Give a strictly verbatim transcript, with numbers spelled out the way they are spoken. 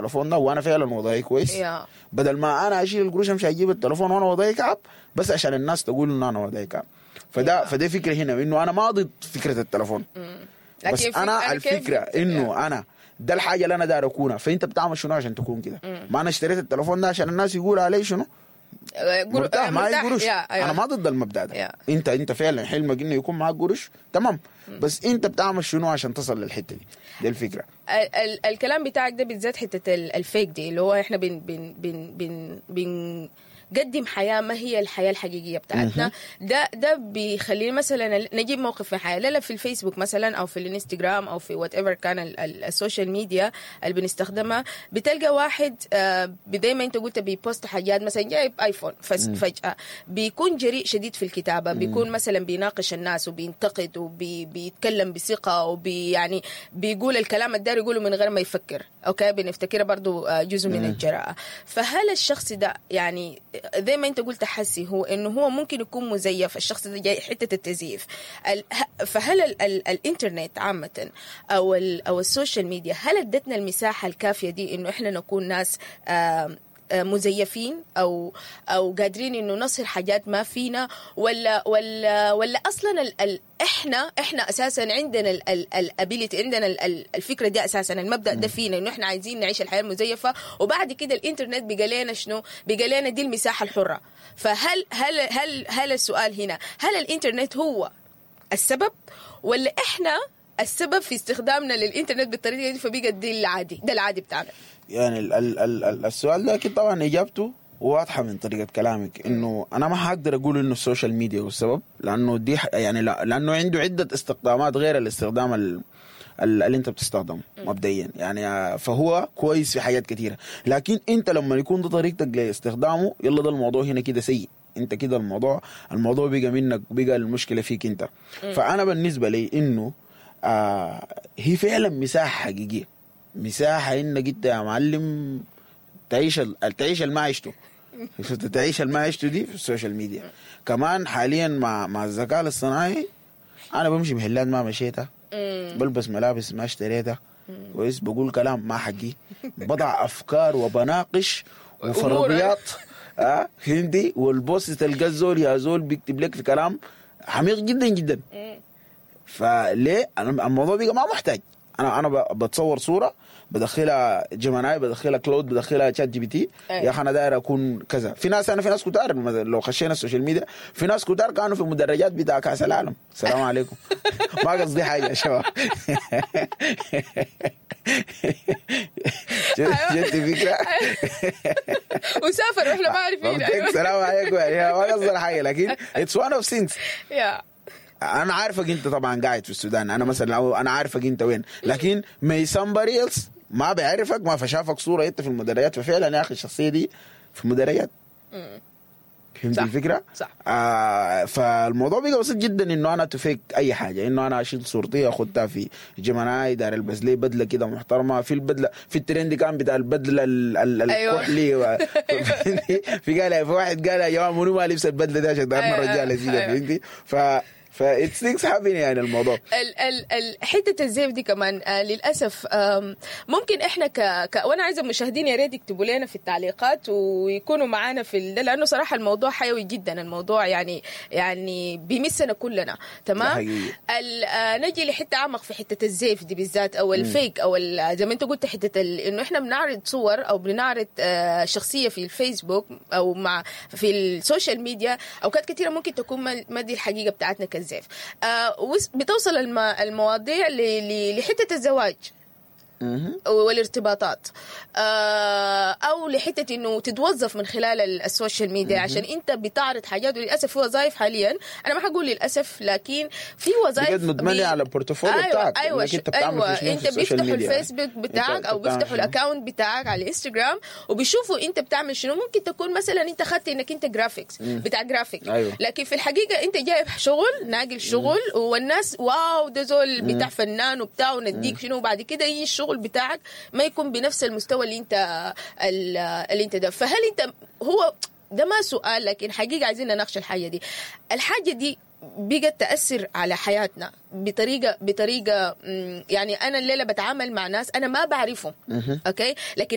التليفون ده وانا فعلا وضعي كويس. yeah. بدل ما انا اشيل القروش امشي اجيب التليفون وانا وضعي كعب، بس عشان الناس تقول انه انا وضعي كعب. فده yeah. فده فكرة هنا، انه انا ما ضد فكرة التليفون، لكن بس في- انا كيف الفكرة انه انا ده الحاجة اللي انا داير اكونها. فانت بتعمل شنو عشان تكون كده؟ ما انا اشتريت التليفون ده عشان الناس يقولوا علي شنو؟ آه، قر- مرتاح، آه، معي قروش. yeah، أيوة. انا ما ضد المبدا ده. yeah. انت انت فعلا حلمك انه يكون معك قروش، تمام، بس انت بتعمل شنو عشان تصل للحتة دي؟ دي الفكره. ال ال الكلام بتاعك ده بالذات حتة ال- ال fake دي، اللي هو احنا بن بن بن بن بنقدم حياة ما هي الحياة الحقيقية بتاعتنا. ده ده بيخلينا مثلا نجيب موقف في حياه، لا لا، في الفيسبوك مثلا او في الانستغرام او في whatever كان ال- ال- ال social media اللي بنستخدمها، بتلقى واحد آه، زي ما انت قلت بي post حاجات، مثلا جايب ايفون، فس- فجاة بيكون جريء شديد في الكتابه، بيكون مثلا بيناقش الناس وبينتقد وبيتكلم بثقة وبي يعني بيقول الكلام الداير يقوله من غير ما يفكر، okay، بنفتكرها برضو آه، جزء من الجراءه. فهل الشخص ده يعني زي ما انت قلت حسي هو انه هو ممكن يكون مزيف؟ الشخص ده جاي حتة التزييف، ال- ه- فهل ال ال الانترنت عامة او ال او ال social media هل ادتنا المساحة الكافيه دي انه احنا نكون ناس آم، آه، مزيفين او او قادرين انه نصهر حاجات ما فينا، ولا ولا ولا اصلا ال ال احنا احنا اساسا عندنا ال ability، عندنا ال ال الفكرة دي اساسا، المبدا ده فينا انه احنا عايزين نعيش الحياة المزيفه، وبعد كده الانترنت بقى لنا شنو؟ بقى لنا دي المساحة الحره. فهل هل هل هل السؤال هنا، هل الانترنت هو السبب ولا احنا السبب في استخدامنا للانترنت بالطريقة دي، فبقى دي العادي، ده العادي بتاعنا؟ يعني ال ال ال ال السؤال ده اكيد طبعا اجابته واضحة من طريقه كلامك، انه انا ما حقدر اقول انه ال social media هو السبب، لانه دي ح- يعني لا، لانه عنده عده استخدامات غير الاستخدام ال ال- اللي انت بتستخدمه مبدئيا يعني. آه، فهو كويس في حاجات كثيره، لكن انت لما يكون ده طريقتك لاستخدامه، يلا ده الموضوع هنا كده سيء. انت كده الموضوع الموضوع بقى منك، بقى المشكلة فيك انت. فانا بالنسبة لي انه آه هي فعلا مساحة حقيقيه، مساحة انك انت يا معلم تعيش ال- تعيش اللي ما عشته، شفت؟ تعيش اللي ما عشته دي في ال social media. كمان حاليا مع مع الذكاء الاصطناعي انا بمشي محلات ما مشيتها، بلبس ملابس ما اشتريتها، كويس، بقول كلام ما حقي، بضع افكار وبناقش وفرضيات، اه فهمتي؟ وال post تلقى الزول يا زول بيكتب لك في كلام عميق جدا جدا. فليه؟ انا الموضوع بقى ما محتاج، انا انا ب- بتصور صوره، بدخلها Gemini، بدخلها Claude، بدخلها ChatGPT. أيوة. يا اخي انا داير اكون كذا. في ناس، انا في ناس كتار مثلا لو خشينا ال social media، في ناس كتار كانوا في مدرجات بتاع كاس العالم. السلام عليكم، ما قصدي حاجة يا شباب. شفت فكرة؟ وسافر واحنا ما عارفين. أيوة. السلام عليكم، يعني ما قصدي حاجه، لكن it's one of things. yeah. انا عارفك انت طبعا قاعد في السودان، انا مثلا أو انا عارفك انت وين، لكن may somebody else ما بيعرفك، ما فشافك صوره انت في المدرجات، ففعلا يا اخي الشخصية دي في المدرجات. فهمت صح. الفكرة؟ صح. آه فالموضوع بقى بسيط جدا انه انا to fake اي حاجه، انه انا اشيل صورتي اخدها في Gemini، داير البس لي بدله كده محترمه، في البدلة في الترند كان بتاع البدلة ال- ال- أيوة. الكحلي و... في قال في واحد قال يا جماعة منو ما لبس البدلة دي عشان دايرنا أيوة. رجاله زي ده. أيوة. فهمتي؟ ف ف it's things happen يعني الموضوع. ال ال ال حتة الزيف دي كمان آه للاسف آم، ممكن احنا ك, ك وانا عايزه المشاهدين يا ريت يكتبوا لنا في التعليقات ويكونوا معانا في ال... لانه صراحة الموضوع حيوي جدا، الموضوع يعني يعني بيمسنا كلنا. ده تمام. حقيقي. ال- آه نجي لحته اعمق في حتة الزيف دي بالذات او ال fake او ال- زي ما انت قلت حتة ال... انه احنا بنعرض صور او بنعرض آه شخصية في الفيسبوك او مع في ال social media، اوقات كثيرة ممكن تكون ما ما دي الحقيقة بتاعتنا كالزيف. آه وس- بتوصل الم... المواضيع ل... ل... لحته الزواج والارتباطات آه، او لحته انه تتوظف من خلال ال- ال social media، عشان انت بتعرض حاجات. وللاسف في وظائف حاليا، انا ما حقول للاسف، لكن في وظائف بجد متبني بي- على ال portfolio أيوة بتاعك، ايوه إنك انت بتعمل ايوه في شنو انت في ال social بيفتحوا ميديا. الفيسبوك بتاعك أنت او بتعمل بيفتحوا شنو؟ ال account بتاعك على الانستغرام وبيشوفوا انت بتعمل شنو. ممكن تكون مثلا انت خدت انك انت graphics بتاع جرافيك، أيوة. لكن في الحقيقة انت جايب شغل، ناقل شغل، والناس wow ده زول بتاع فنان وبتاع ونديك شنو، وبعد كده يجي الشغل بتاعك ما يكون بنفس المستوى اللي انت اللي انت ده. فهل انت هو ده ما سؤال، لكن حقيقة عايزين نناقش الحاجة دي. الحاجة دي بقت تأثر على حياتنا بطريقة بطريقة مم، يعني أنا الليلة بتعامل مع ناس أنا ما بعرفهم، okay، لكن